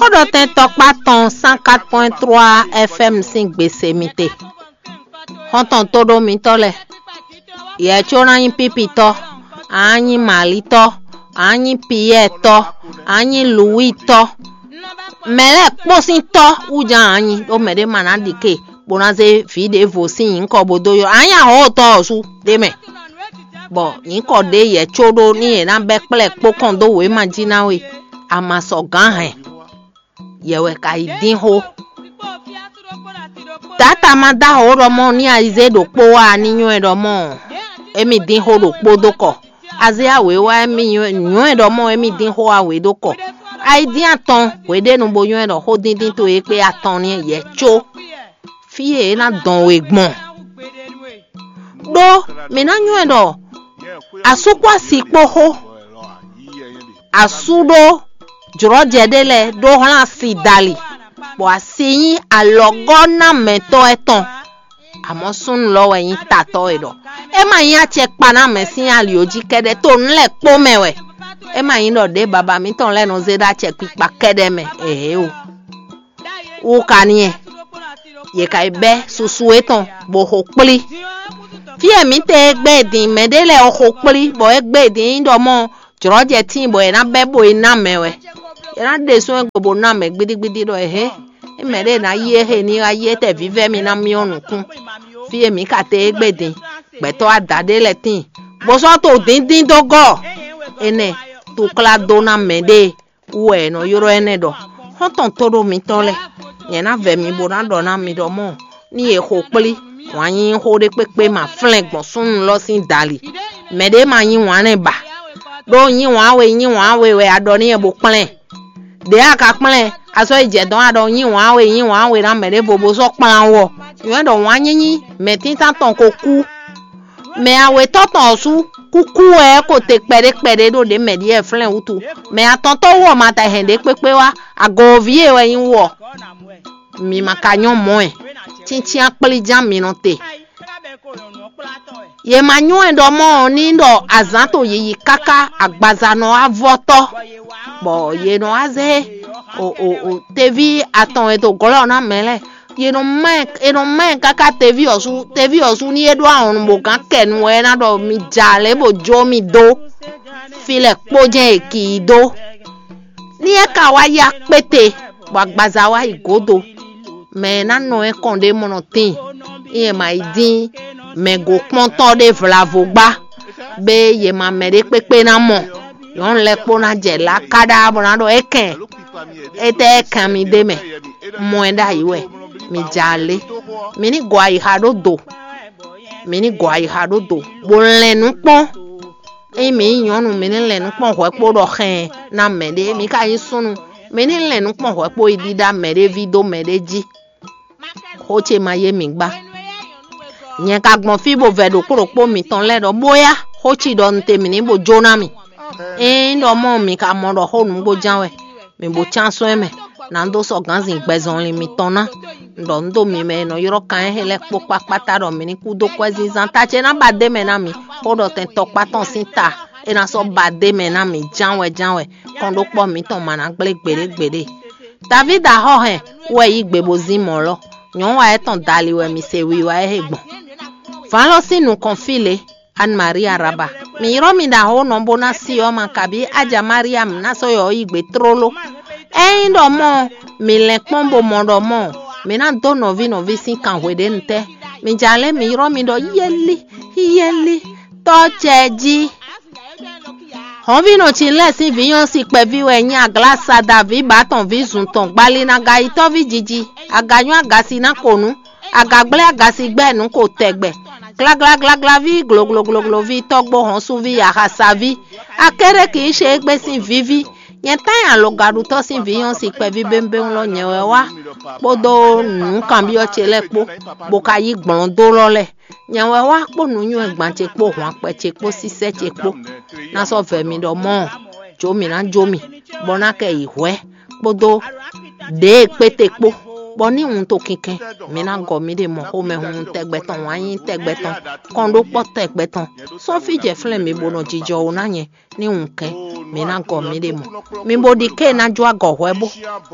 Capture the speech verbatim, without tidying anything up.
Xó ɖɔ tɛn tɔkpá tɔn cent quatre point trois F M sín gbe se mi te. Xɔ́ntɔn tóɖó mitɔ́ lɛ́ɛ, yɛ có ná nyí Pípitɔ́, a nǎ nyí Malitɔ́, a nǎ nyí Piyɛ́ɛtɔ́, a nǎ nyí Luwítɔ́. Mɛ lɛ́ɛ kpó sín tɔ́ wú jɛ́n a nǎ nyí, ɖó mɛɖé ma ná ɖi ke bó ná zé vǐ ɖěvo sín nyǐkɔ bó dó ylɔ́. A nǎ nyí ahɔ̌ tɔ́ ɔ́ sú ɖ'é mɛ, bɔ nyǐkɔ ɖě yɛ có ɖó nú yě ná bɛ́ kplá ɛ kpó kɔn dó wěma jí ná we, a ma sɔ gǎn hɛn. Yɛ wɛ ka yi dín xó. Dǎta ma dó ahɔ̌ ɖɔ mɔ ní Ayizée ɖokpó wá ní nywɛ́ ɖɔ mɔ émí dín xó ɖokpó dó kɔ. Azéa wě wá émí nywɛ́ ɖɔ mɔ émí dín xó wá wě dó kɔ. Ayidín atɔn hweɖénu bó nywɛ́ ɖɔ xódíndín towe kpé atɔn ní yɛ có. Fí e é ná dɔn we gbɔn. Ɖó mǐ ná nywɛ́ ɖɔ asú kpó asi kpó xó, asú ɖó jlɔ̌jɛ ɖé lɛ́ɛ ɖó hlán asi dali, bɔ asi nyí alɔgɔ́ ná mɛtɔ́ ɛ tɔn. Amɔ̌ súnnu lɔ wɛ nyí tatɔ́ e ɖɔ é ma nyí acɛ kpa ná mɛ sín ali ɔ́ jí kɛ́ɖɛ́, to nǔ lɛ́ɛ kpó mɛ wɛ. É ma nyí ɖɔ ɖěe baba mǐtɔn lɛ́ɛ nɔ zé ɖó acɛ kpikpa kɛ́ɖɛ́ mɛ ěhé o. Wú ka n'i, yě ka yi bɛ́ susu étɔn bó xo kplí. Fí e mǐ tɛ e gbɛ́ din mɛɖé lɛ́ɛ ɔ́ xo kplí, bɔ é gbɛ́ din nyí ɖɔ mɔ jlɔ̌jɛ tíin bɔ è nǎ bɛ́ bó yi ná mɛ wɛ. È nǎ ɖe sún ɛ go bó ná mɛ gbídígbídí ɖɔ é hɛn é mɛɖé ná yí é he ní wá yí étɛ́ vívɛ́ mì ná myɔ nukún. Fí e mǐ ka te é gbɛ́ din, gbɛtɔ́ ada ɖé lɛ́ɛ tíin, bó sɔ́ to dǐndín dó gɔ́. Énɛ́, tukla dó ná mɛɖée wú wɛ è nɔ ylɔ́ énɛ́ ɖɔ xɔ́ntɔn tóɖó mitɔn lɛ́ɛ. Nyɛ ná vɛ mi bó ná ɖɔ ná mi ɖɔ mɔ́, ní è xo kplí wǎn nyínyí xó ɖé kpékpé ma flɛ́n gbɔn súnnu lɔ sín dali. Mɛɖé ma nyí wǎn nɛ́ ba, ɖó nyí wǎn we nyí wǎn we wɛ a ɖɔ n'i wɛ bó kplɛ́n. Ɖě a ka kplɛ́n, a sɔ́ yi jɛ dɔ̌n a ɖɔ nyí wǎn we nyí wǎn we ná mɛ ɖěvo bó sɔ́ kplán wú ɔ́, nyɔ̌ ɖɔ wǎn nyínyí mɛ̌tíntán tɔn ko kú. Mɛ awětɔ́ tɔn ɔ́ sú kúkú wɛ é ko te kpɛɖé kpɛɖé ɖó ɖě mɛ ɖíe flɛ́n wútu. Mɛ atɔntɔ́ wú ɔ́ ma ta hɛn ɖě kpékpé wá, agooví e wɛ nyí wú ɔ́, mi ma ka nyɔ́ mɔ̌ ɛ. Cíncyán kplí ján mi nɔ te. Yě ma nywɛ́ ɖɔ mɔ́ ɔ́ ní ɖɔ azǎn to yiyi káká agbaza nɔ wá vɔ́ tɔ́, bɔ yě nɔ wá zé o o o teví atɔn e to glɔ́ ná mɛ lɛ́ɛ. Yě nɔ má ɛ è nɔ má ɛ káká teví ɔ́ sú, teví ɔ́ sú ní é ɖó ahɔnnu bó gán kɛ nu wɛ é ná ɖɔ mi ja lě bó jó mi dó. Fí lɛ́ɛ kpó jɛ́n è kì í dó. Ní é ka wá yá kpéte, bɔ agbaza wá yi gǒdo, mɛ e ná nɔ ɛ kɔn ɖé mɔ nɔ tíin, ní è ma yi dín mɛ gǒkpɔ́ntɔ́ ɖé vlavo gbá, bé yě ma mɛ ɖé kpékpé ná mɔ. Nyɔ̌nu lɛ́ɛ kpó ná jɛ lǎ káɖá bɔ ná ɖɔ é kɛn, étɛ́ é kan mi ɖ'é mɛ? Mɔ ɛ ɖ'ayǐ wɛ, mi ja alé. Mi ní gɔ ayixa ɖó do, mi ní gɔ ayixa ɖó do, bó lɛn nǔ kpɔ́n. Ényí mǐ nyí nyɔ̌nu, mǐ ní lɛn nǔ kpɔ́n hwɛ̌ kpó ɖɔ xɛn ná mɛɖé; mǐ ka nyí súnnu, mǐ ní lɛn nǔ kpɔ́n hwɛ̌ kpó yi ɖíɖá mɛɖé ví dó mɛɖé jí. Xó ce ma yé mǐ gbá. Nyɛ ka gbɔn fí bó vɛ ɖokpó ɖokpó mitɔn lɛ́ɛ ɖɔ bóyá xó ci ɖɔ un te mǐ ní bó jó ná mì. Ényí ɖɔ mɔ̌ mǐ ka mɔ ɖɔ xó nǔgbó ján wɛ, mǐ bó cán sɔ́ ɛ mɛ, nǎ dó sɔ́ gǎnzin gbɛzɔnlin mitɔn ná. Un ɖɔ nǔ dó mi mɛ e nɔ ylɔ́ kan éhɛn lɛ́ɛ kpó kpákpáta ɖɔ mǐ ní kú dó kwɛ́zínzán ta ce ná ba d'é mɛ ná mǐ. Xó ɖɔ tɛn tɔkpá tɔn sín ta é ná sɔ́ ba d'é mɛ ná mǐ ján wɛ ján wɛ, kɔn ɖó kpɔ́ mǐtɔn ma ná gblé gbeɖé gbeɖé. Davídi axɔ́ hɛn wɛ yí gbe bó zín mɔ̌ lɔ. Nyɔ̌nu wa étɔn dali wɛ mi se wiwa e he gbɔn. Vǎn lɔ sín nukɔn fí lě, Anne Marie Araba. Mǐ ylɔ́ mi ɖo axɔ́ nɔ bó ná si ɔ́ ma kabí Aja Mariam ná sɔ́ yɔ yi gbe tlóló. Ényí ɖɔ mɔ̌ mi lɛn kpɔ́n bó mɔ ɖɔ mɔ̌ mi ná dó nɔví nɔví sín kan hweɖénu tɛ́. Mi ja lɛ́ mi ylɔ́ mi ɖɔ yɛ́lí, yɛ́lí, tɔ́ cɛ jí. Hɔ̌nvínɔ Cinlɛ́ɛ sín vǐ nyɔ́ si kpɛví wɛ nyí Aglásada ví Batɔn ví zun tɔn Gbalinaga yitɔ́ví jiji, aganyɔ́ agasi ná ko nǔ, agagblɛ́ agasi gbɛ́ nǔ ko tɛgbɛ, glaglaglaglaví, gloglogloví, tɔ́gbó hɔnsuví, axasaví, Akéɖéki Íshe égbé sín víví, nyɛ tán nyi alɔgaɖutɔ́ sín vǐ nyɔ́ si kpɛví bémbéŋ lɔ nyɛ wɛ wá kpódó nǔkanbyɔ́ ce lɛ́ɛ kpó, bó ka yí gblɔ̌ndó lɔ lɛ́ɛ. Nyɛ wɛ wá kpó nǔnywɛ́ gban ce kpó hwanpɛ ce kpó sísɛ́ ce kpó, ná sɔ́ vɛ mi ɖɔ mɔ̌, jó mǐ ná jó mì, bɔ ná kɛ yi hwɛ̌ kpódó ɖěe kpéte kpó, bɔ ní wun to kinkɛn, mǐ ná gɔ mǐɖée mɔ xomɛhunhun tɛgbɛ tɔn, wǎn yíyí tɛgbɛ tɔn, kɔn ɖó kpɔ́ tɛgbɛ tɔn, sɔ́ fí jɛ flɛ́n mǐ bó nɔ jijɔ wú ná nyɛ, ní wun kɛn, mǐ ná gɔ mǐɖée mɔ. Mi bo ɖi ké ná jó agɔ hwɛ bó.